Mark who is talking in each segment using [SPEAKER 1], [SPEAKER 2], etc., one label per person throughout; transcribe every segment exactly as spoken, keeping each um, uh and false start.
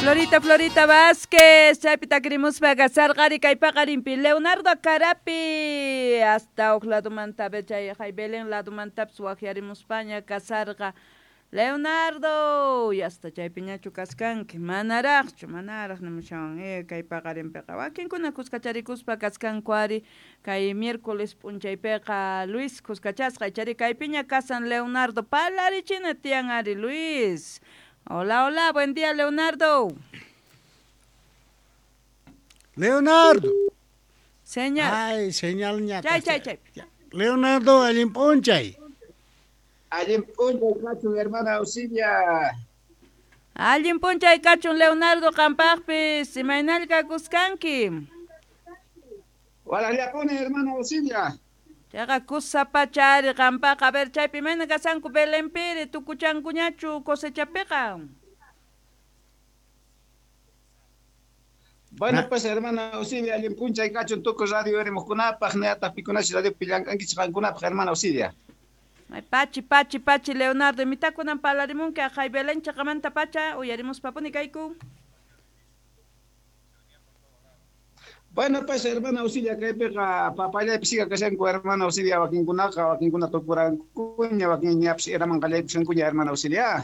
[SPEAKER 1] Florita, Florita Vázquez, chaypi takirimuspa kasarqari kay paqarinpi Leonardo Carapi hasta huk ladumanta chay hay Belén ladumantapis waqyarimuspaña kasarqa Leonardo y hasta chaypiñachu kaskanki manaraqchu manaraq nimushawan eh kay paqarinpiqa wakinkuna kuskacharikuspa kaskanku ari kay miércoles p'unchaypiqa Luis kuskachasqa ichari kaypiña kasan Leonardo palarichina tiyan ari Luis. Hola, hola, buen día, Leonardo.
[SPEAKER 2] Leonardo.
[SPEAKER 1] Señal.
[SPEAKER 2] Ay, señal ñata.
[SPEAKER 1] Chay, chay, chay.
[SPEAKER 2] Leonardo, allin p'unchay.
[SPEAKER 3] Allin p'unchay kachun, hermana Auxilia.
[SPEAKER 1] Allin p'unchay kachun, Leonardo, qampaqpis. Imaynalla kuskanki.
[SPEAKER 3] Walallapuni, hermana Auxilia.
[SPEAKER 1] Chayqa kusapachari qampaqa, a ver, chaypi imayna kasanku Belenpiri, tukuchankuñachu cosechapiqa.
[SPEAKER 3] Bueno, pues, hermana Auxilia, allin p'unchay kachun tukuy radio erimuqkunapaq, niyataq pikunachi radio pillankankichik qankunapaq, hermana Auxilia.
[SPEAKER 1] Ay, pachi, pachi, pachi, Leonardo, imitakunan palarimunki aqhay Belén chaqamanta pacha, uyarimuspapuni kayku.
[SPEAKER 3] Bueno, pues, hermana Auxilia, kaypiqa papallaypi siga kashanku, hermana Auxilia, wakinkunaqa, wakinkuna tukurankuña, wakinñapis eraman qallaykushankuña, hermana Auxilia.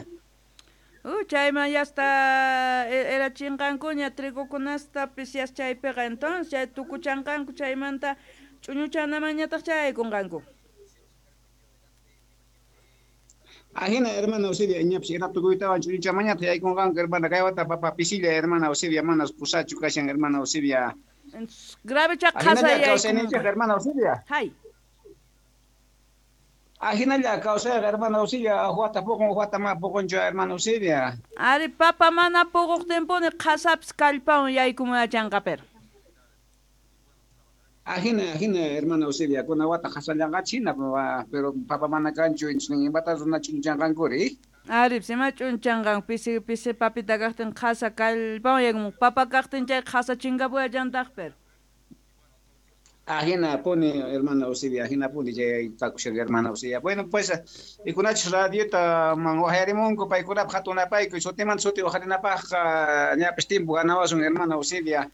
[SPEAKER 1] Uh, chayman ya está era chinqankuña trigokunastapis yas chaypiqa, entonces chay tukuchanqanku chaymanta ch'uñuchanamañataq chaykunqanku.
[SPEAKER 3] Ajina, hermana Auxilia, ñapis era tukuytawan ch'uñuchamañataq yaykunqanku, hermana, kay wata papa pisilla, hermana Auxilia, manas pusachu kashan, hermana Auxilia.
[SPEAKER 1] Grave chaqasa
[SPEAKER 3] yaykunqa, hermana Auxilia.
[SPEAKER 1] Hay.
[SPEAKER 3] Ajinalla kawsayqa, hermana Auxilia, huata puqun, huata mana puqunchu, hermana Auxilia.
[SPEAKER 1] Ari papa mana puquqtinpuni qhasapis kallpawan yaykumuyachanqa pero.
[SPEAKER 3] Ajina, ajina, hermana Auxilia, kuna wata qhasallanqachik hina, pero papa mana kanchu, imata runa ch'unchanqankuri.
[SPEAKER 1] Ari, sima ch'unchanqan, pisi pisi papita kaqtin qhasa kallpawan yaykumun, papa kaqtin chay qhasa chinkapuyachantaq pero.
[SPEAKER 3] Ajina puni, hermana Auxilia, ajina puni chay kakushan, hermana Auxilia. Bueno, pues, ikunachis radiota man wajarimunku, paykunapaq hatunapayku, sutimanta suti wajarinapaqqa ñapis tiempo ganawasun, hermana Auxilia.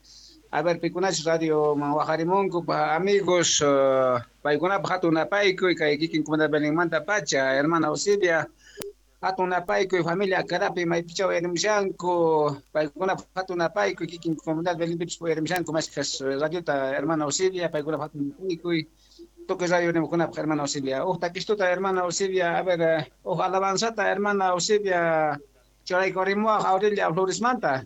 [SPEAKER 3] A ver, pikunachis radio man wajarimunku, pa amigos, uh, paykunapaq hatunapayku, kay kikin comunidad Belenmanta pacha, hermana Auxilia. Hatunapayku, familia Carapi, maypichaw erimushanku, paykunapaq hatunapayku, kikin comunidad Belenpipis erimushanku, mashkas radiota, hermana Auxilia, paykunapaq hatunapayku, tukuy radio erimukunapaq, hermana Auxilia. Uj takistuta, hermana Auxilia, a ver, uj alabanzata, hermana Auxilia, churaykurrimuwaq Aurelia Floresmanta.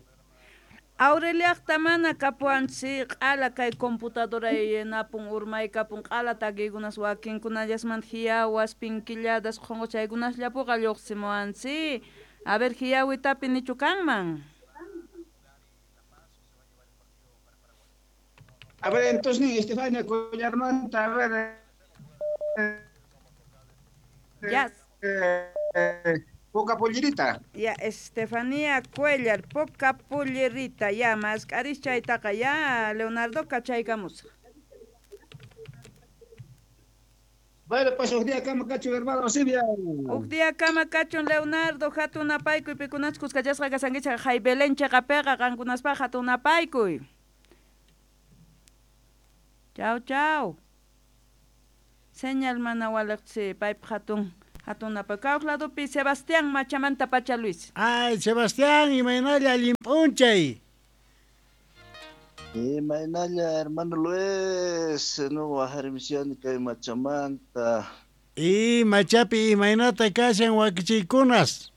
[SPEAKER 1] Aureliaqta mana kapuwanchik q'ala kay computadora napun urmaykapun q'ala takiykunas wakinkunallasmanta hiyawas pinkilladas qhunquchaykunasllapuqa lluqsimuwanchik. A ver, hiyawitapi nichu kanman.
[SPEAKER 3] A ver, entonces, Estefania Collarmanta, a ver.
[SPEAKER 1] Ya.
[SPEAKER 3] Eh, eh, Poca pollerita.
[SPEAKER 1] Ya, Estefanía Cuellar, poca pollerita. Ya, más chaytaqa ya, Leonardo kachaykamusaq.
[SPEAKER 3] Bueno, pues, huk día kama kachun, hermano Auxilia.
[SPEAKER 1] Huk día kama kachun, Leonardo, hatunapaykuy, pikunachus kuskachasqa kasankichik hay Belén chaqapiqa qankunaspaq hatunapaykuy. Chau, chau. Señal mana waliqchi, paypaq hatun. Hatunapayku ladopi Sebastián Machamanta pacha Luis.
[SPEAKER 2] Ay, Sebastián, imaynalla allin p'unchay.
[SPEAKER 4] Imaynalla, hermano Luis, no wajarimishani kay Machamanta.
[SPEAKER 2] Y Machapi imaynata kashan wakichiykunas.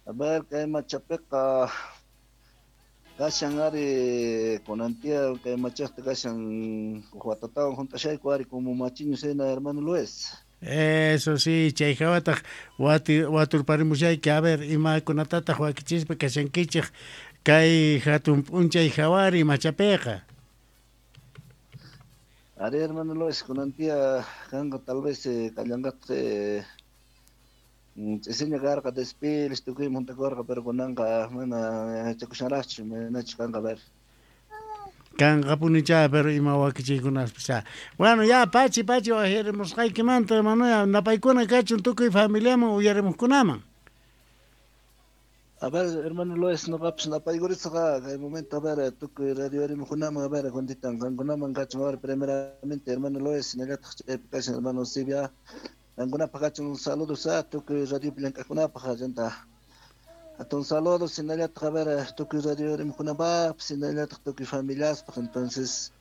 [SPEAKER 4] A ver, kay Machapiqa kashan ari kunantia kay machaqta kashan watatawan juntashayku ari como machiño sena, hermano Luis.
[SPEAKER 2] Eso sí, chay hawataq wati waturparimushayki, a ver, imakunatataq wakichispa kashankichik kay hatun p'unchay hawari Machapiqa.
[SPEAKER 4] Ari, hermano Luis, kunantia kanqa tal vez kallanqataq ch'isiña karqa despiles tukuyman juntakurqa, pero kunanqa mana yachakushanraqchu, manachu kanqa ver.
[SPEAKER 2] Kanqapunicha, pero ima wakichiykunaspis. Bueno, ya pachi pachi wajarimusqaykimanta, hermano, napaykuna kachun tukuy familiaman uyarimuqkunaman.
[SPEAKER 4] A ver, hermano Loes, no va pues napaykurisqa kay momento, a ver, tukuy radio rimukunaman, a ver, juntitan qankunaman kachun, a ver, primeramente, hermano Loes, hinallataq chaypi kashan hermano Sibia, qankunapaq kachun saludos a tukuy radio llank'aqkunapaq chanta hatun saludos hinallataq, a ver, tukuy radio rimukunapaq, hinallataq tukuy familiaspaq. Entonces,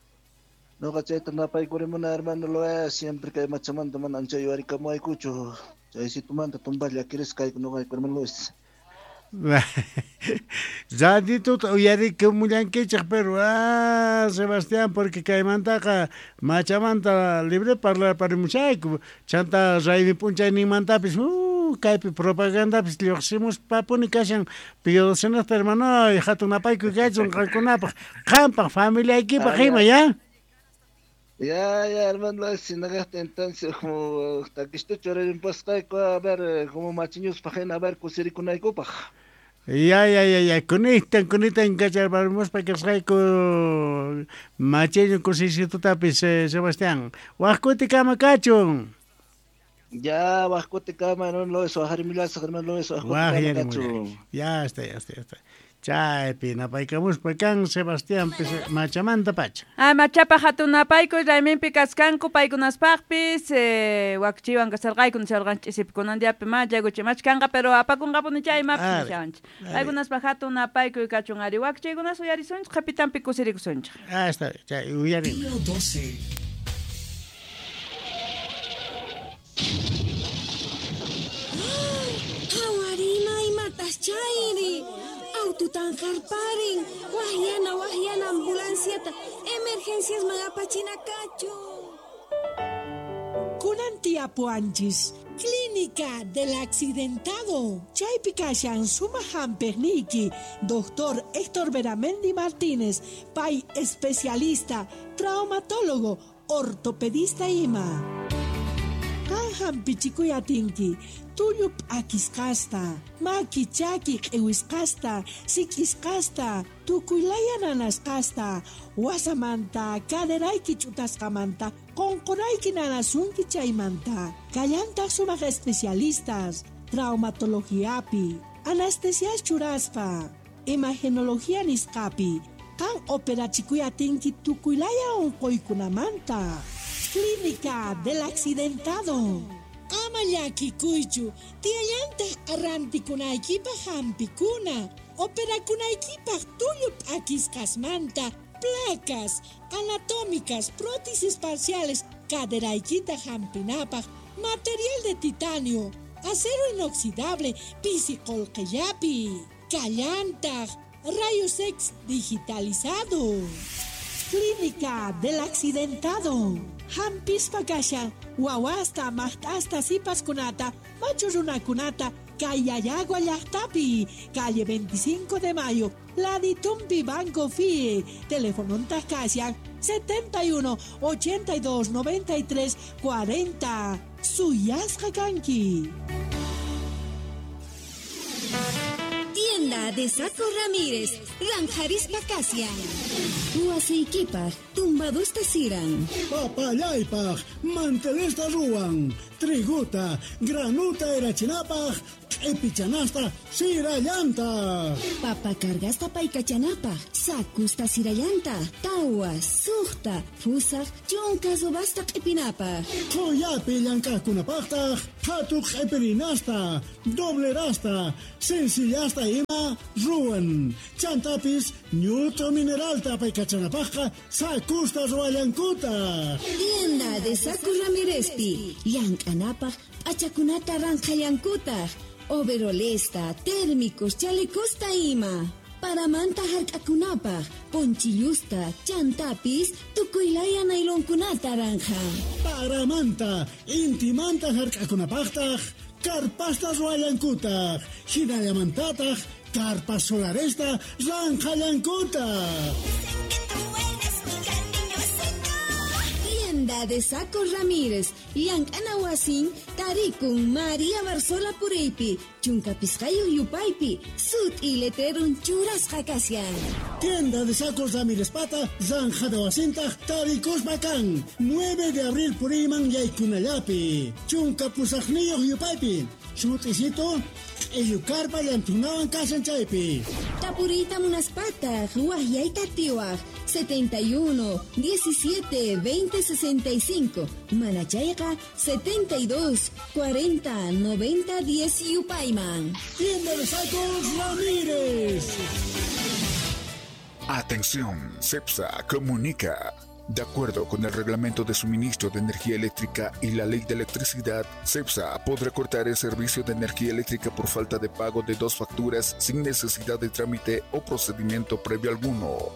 [SPEAKER 4] noqa chayta napaykurimuna, hermano Loes, siempre kay machamanta mana ancha yuwarikamuwaykuchu, chaysitumanta tumpalla llakirisqa kayku noqayku, hermano Loes.
[SPEAKER 2] Ratituta uyarikamullankichik, pero ah, Sebastián, porque kaymantaqa machamanta libre parlarparimushayku, chanta raymi p'unchayninmantapis uh, kaypi propagandapis lluqsimuspapuni kashan Pío hermano, hatun napaykuy kachun qankunapaq, qampaq familiaykipaq ima, ya?
[SPEAKER 4] Ya, ya, hermano, sinagasta entonces, como takistuchu rimpasqayku, a ver, como machiñuspaq hina, a ver, kusirikunaykupaq.
[SPEAKER 2] Ya, ya, ya, ya, kunitan, kunitan kacharparimuspa kasqayku machiñu kusisitutapis, eh, Sebastián. Waq kutikama kachun.
[SPEAKER 4] Ya, waq kutikama, hermano Loes, waqharimullasaq, hermano Loes, waq kutikama kachun.
[SPEAKER 2] Ya está, ya está, ya está. Chaypi napaykamuspa kan Sebastián machamanta pacha.
[SPEAKER 1] Ah, machapa hatun napaykuy rayminpi kaskanku paykunaspaqpis, eh, wakchiwan kasarqayku nisharqan ch'isipi kunan diapi machakuchi machkanqa, pero apakunqapuni chay imapis nishawanchik. Paykunaspaq hatun napaykuy kachun ari wakchiykunas uyarisunchik, qhipitanpi kusirikusunchik.
[SPEAKER 2] Ah, está, chay uyarina.
[SPEAKER 5] doce.
[SPEAKER 6] Hawarina imatas chayri. Aututan qarparin, wahyana wahyana ambulanciata, emergencias magapachina kachu.
[SPEAKER 7] Kunan tiapuanchis, Clínica del Accidentado. Chaypi kashan suma hamperniki, doctor Héctor Beramendi Martínez, pay especialista, traumatólogo, ortopedista ima. Kan hampichikuy atinki, tullu p'akisqasta, maki chaki q'iwisqasta, sik'isqasta, tukuylaya nanasqasta, wasamanta, caderayki ch'utasqamanta, qunqurayki nanasunki chaymanta. Kallantaq sumaq especialistas, traumatologiapi, anestesias churaspa, imagenología nisqapi, kan operachikuy atinki tukuylaya unquykunamanta. Clínica del Accidentado. Ama llakikuychu, tiyallantaq arrantikunaykipaq hampikuna, operakunaykipaq tullu p'akisqasmanta, placas anatómicas, prótesis parciales, caderaykita hampinapaq, material de titanio, acero inoxidable, pisi qullqillapi, kallantaq, rayos X digitalizado. Clínica del Accidentado. Hampispa kashan, wawasta, maqt'asta, sipaskunata, machu runakunata, Kayayagua llaqtapi, calle veinticinco de Mayo, Laditumpi Banco F I E, teléfono kashan, setenta y uno, ochenta y dos, noventa y tres, cuarenta. Suyasqa kanki.
[SPEAKER 6] Tienda de Saco Ramírez, Ranjarispa Kasian. Huasiykipaq, tumbadusta siran.
[SPEAKER 8] Papallaypaq, mantelesta ruwan. Triguta, granuta erachinapaq, q'ipichanasta sirallanta.
[SPEAKER 6] Papa cargasta paykachanapaq, sakusta sirallanta, tawa, suqta, fusaq, chunka subasta q'ipinapaq.
[SPEAKER 8] Qullapi llank'aqkunapaqtaq, qhatu q'ipirinasta, doblerasta, sencillasta ima ruwan. Chantapis, ñuto mineralta paykachanapaqqa, sakusta ruwallankutaq.
[SPEAKER 6] Tienda de Saco Ramírezpi, llank'anapaq, p'achakunata ranqhallankutaq. Overolesta, térmicos, chalecosta ima. Paramanta hark'akunapaq, ponchillusta, chantapis, tukuylaya nailonkunata ranja.
[SPEAKER 8] Paramanta, intimanta hark'akunapaqtaq, karpasta ruwallankutaq, hinallamantataq, karpas solaresta ranqhallankutaq.
[SPEAKER 6] Tienda de Saco Ramírez, llank'ana wasin, tarikun María Barzola Puriypi, chunka pisqayuq yupaypi, sut'i letrerun churasqa kashan.
[SPEAKER 8] Tienda de Sacos Ramírez pata, zanjada wasintaq, tarikuspa kan, nueve de abril puriyman yaykunallapi, chunka pusaqniyuq yupaypi, Sut'isito, q'illukarpa llantunawan kashan chaypi.
[SPEAKER 6] Tapuriyta munaspataq, waqyayta atiwaq, setenta y uno, diecisiete, veinte, sesenta y cinco, manachayqa, setenta y dos, cuarenta, noventa, diez yupayman.
[SPEAKER 8] Tienda de Sacos Ramírez.
[SPEAKER 5] Atención, CEPSA comunica. De acuerdo con el Reglamento de Suministro de Energía Eléctrica y la Ley de Electricidad, CEPSA podrá cortar el servicio de energía eléctrica por falta de pago de dos facturas sin necesidad de trámite o procedimiento previo alguno.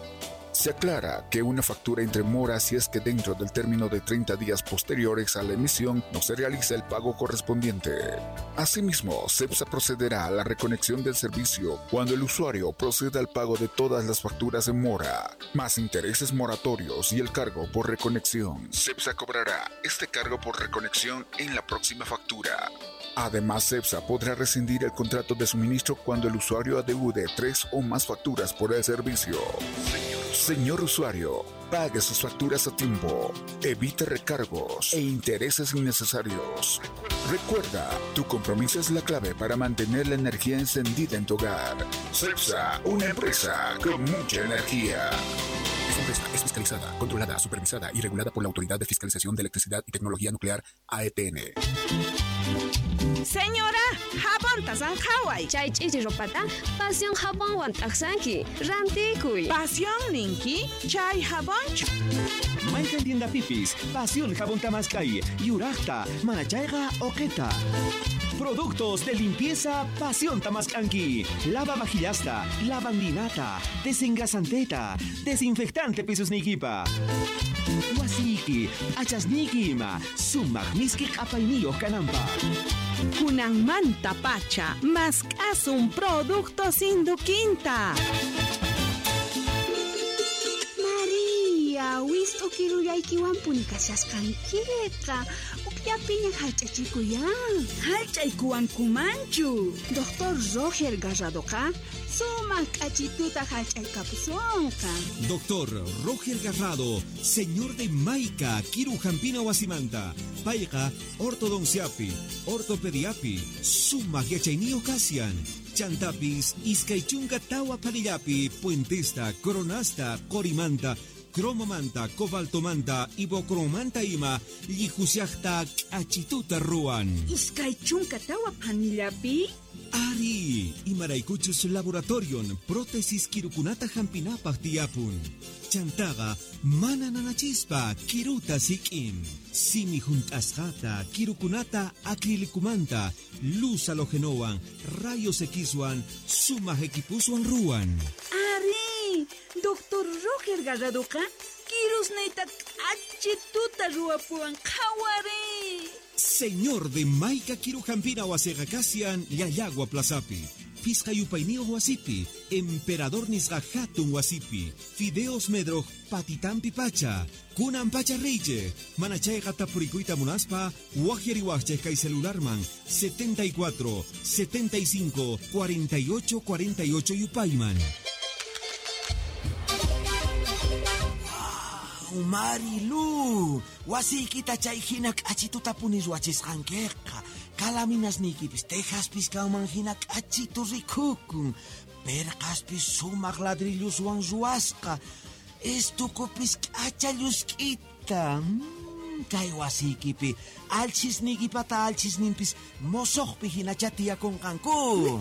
[SPEAKER 5] Se aclara que una factura entre mora si es que dentro del término de treinta días posteriores a la emisión no se realiza el pago correspondiente. Asimismo, CEPSA procederá a la reconexión del servicio cuando el usuario proceda al pago de todas las facturas en mora, más intereses moratorios y el cargo por reconexión. CEPSA cobrará este cargo por reconexión en la próxima factura. Además, CEPSA podrá rescindir el contrato de suministro cuando el usuario adeude tres o más facturas por el servicio. Señor usuario, pague sus facturas a tiempo, evite recargos e intereses innecesarios. Recuerda, tu compromiso es la clave para mantener la energía encendida en tu hogar. CEPSA, una empresa con mucha energía. Esta empresa es fiscalizada, controlada, supervisada y regulada por la Autoridad de Fiscalización de Electricidad y Tecnología Nuclear, A E T N.
[SPEAKER 9] Señora, jabonta sanjaway.
[SPEAKER 10] Chay ch'ichi ropata, pasión jabonwan t'aqsanki, rantikuy.
[SPEAKER 9] Pasión ninki, chay jabonchu.
[SPEAKER 11] Mayqan tienda pipis, pasión jabón tamaskay, yuraqta, manachayqa oqeta. Productos de limpieza Pasión Tamascanqui. Lava vajillasta, lavandinata, desengrasanteta, desinfectante pisos nikipa. Wasiki, achasniki ima, sumaq miski q'apayniyuq kananpaq.
[SPEAKER 9] Kunanmanta pacha, mask'asun productos induquinta.
[SPEAKER 12] María, wist'u kirullaykiwanpuni kashasqankiqa. Ukllapiña hallch'achikuyan.
[SPEAKER 1] Hallch'aykuwankumanchu.
[SPEAKER 12] Doctor Roger Garradoqa sumaq k'achituta hallch'aykapusunqa.
[SPEAKER 11] Doctor Roger Garrado, señor de Maica, Kiru Jampina Wasimanta, payqa ortodonciapi, ortopediapi, sumaq yachayniyuq kashan. Chantapis, iskay chunka tawa panillapi, puentesta, coronasta, qorimanta, cromomanta, cobaltomanta, ibocromanta ima, llihusiaqta k'achituta ruwan.
[SPEAKER 1] Iskay chunka tawa panillapi?
[SPEAKER 11] Ari, imaraykuchus laboratorion, prótesis kirukunata hampinapaq tiyapun. Chantaqa mana nanachispa kiruta sik'in. Simi junt'asqata, kirukunata acrilicumanta, luz halogenowan, rayos Xwan, sumaq equipuswan ruwan.
[SPEAKER 1] Ari, Doctor Roger Garradoqa kirusniyta k'achituta ruwapuwan qhawari.
[SPEAKER 11] Señor de Maica Kirujampina wasiqa kashan Llallagua Plazapi, Pisqa yupayniyuq wasipi, Emperador nisqa hatun wasipi, Fideos Medroj patitampi pacha, kunan pacha reyche, manachayqa tapurikuyta munaspa, waqyariwaqchej kay celularman setenta y cuatro, setenta y cinco, cuarenta y ocho, cuarenta y ocho yupayman.
[SPEAKER 13] Marilu, wasiykita chay hina k'achituta puni ruwachisqankiqa. Kalaminasniykipis tejaspis kanman hina k'achitu rikukun. Perqaspis sumaq ladrilluswan ruwasqa. Estukupis k'acha llusk'ita. Mm, kay wasiykipi alchisniykipata alchisninpis mosoqpi hinacha tiyakunqanku.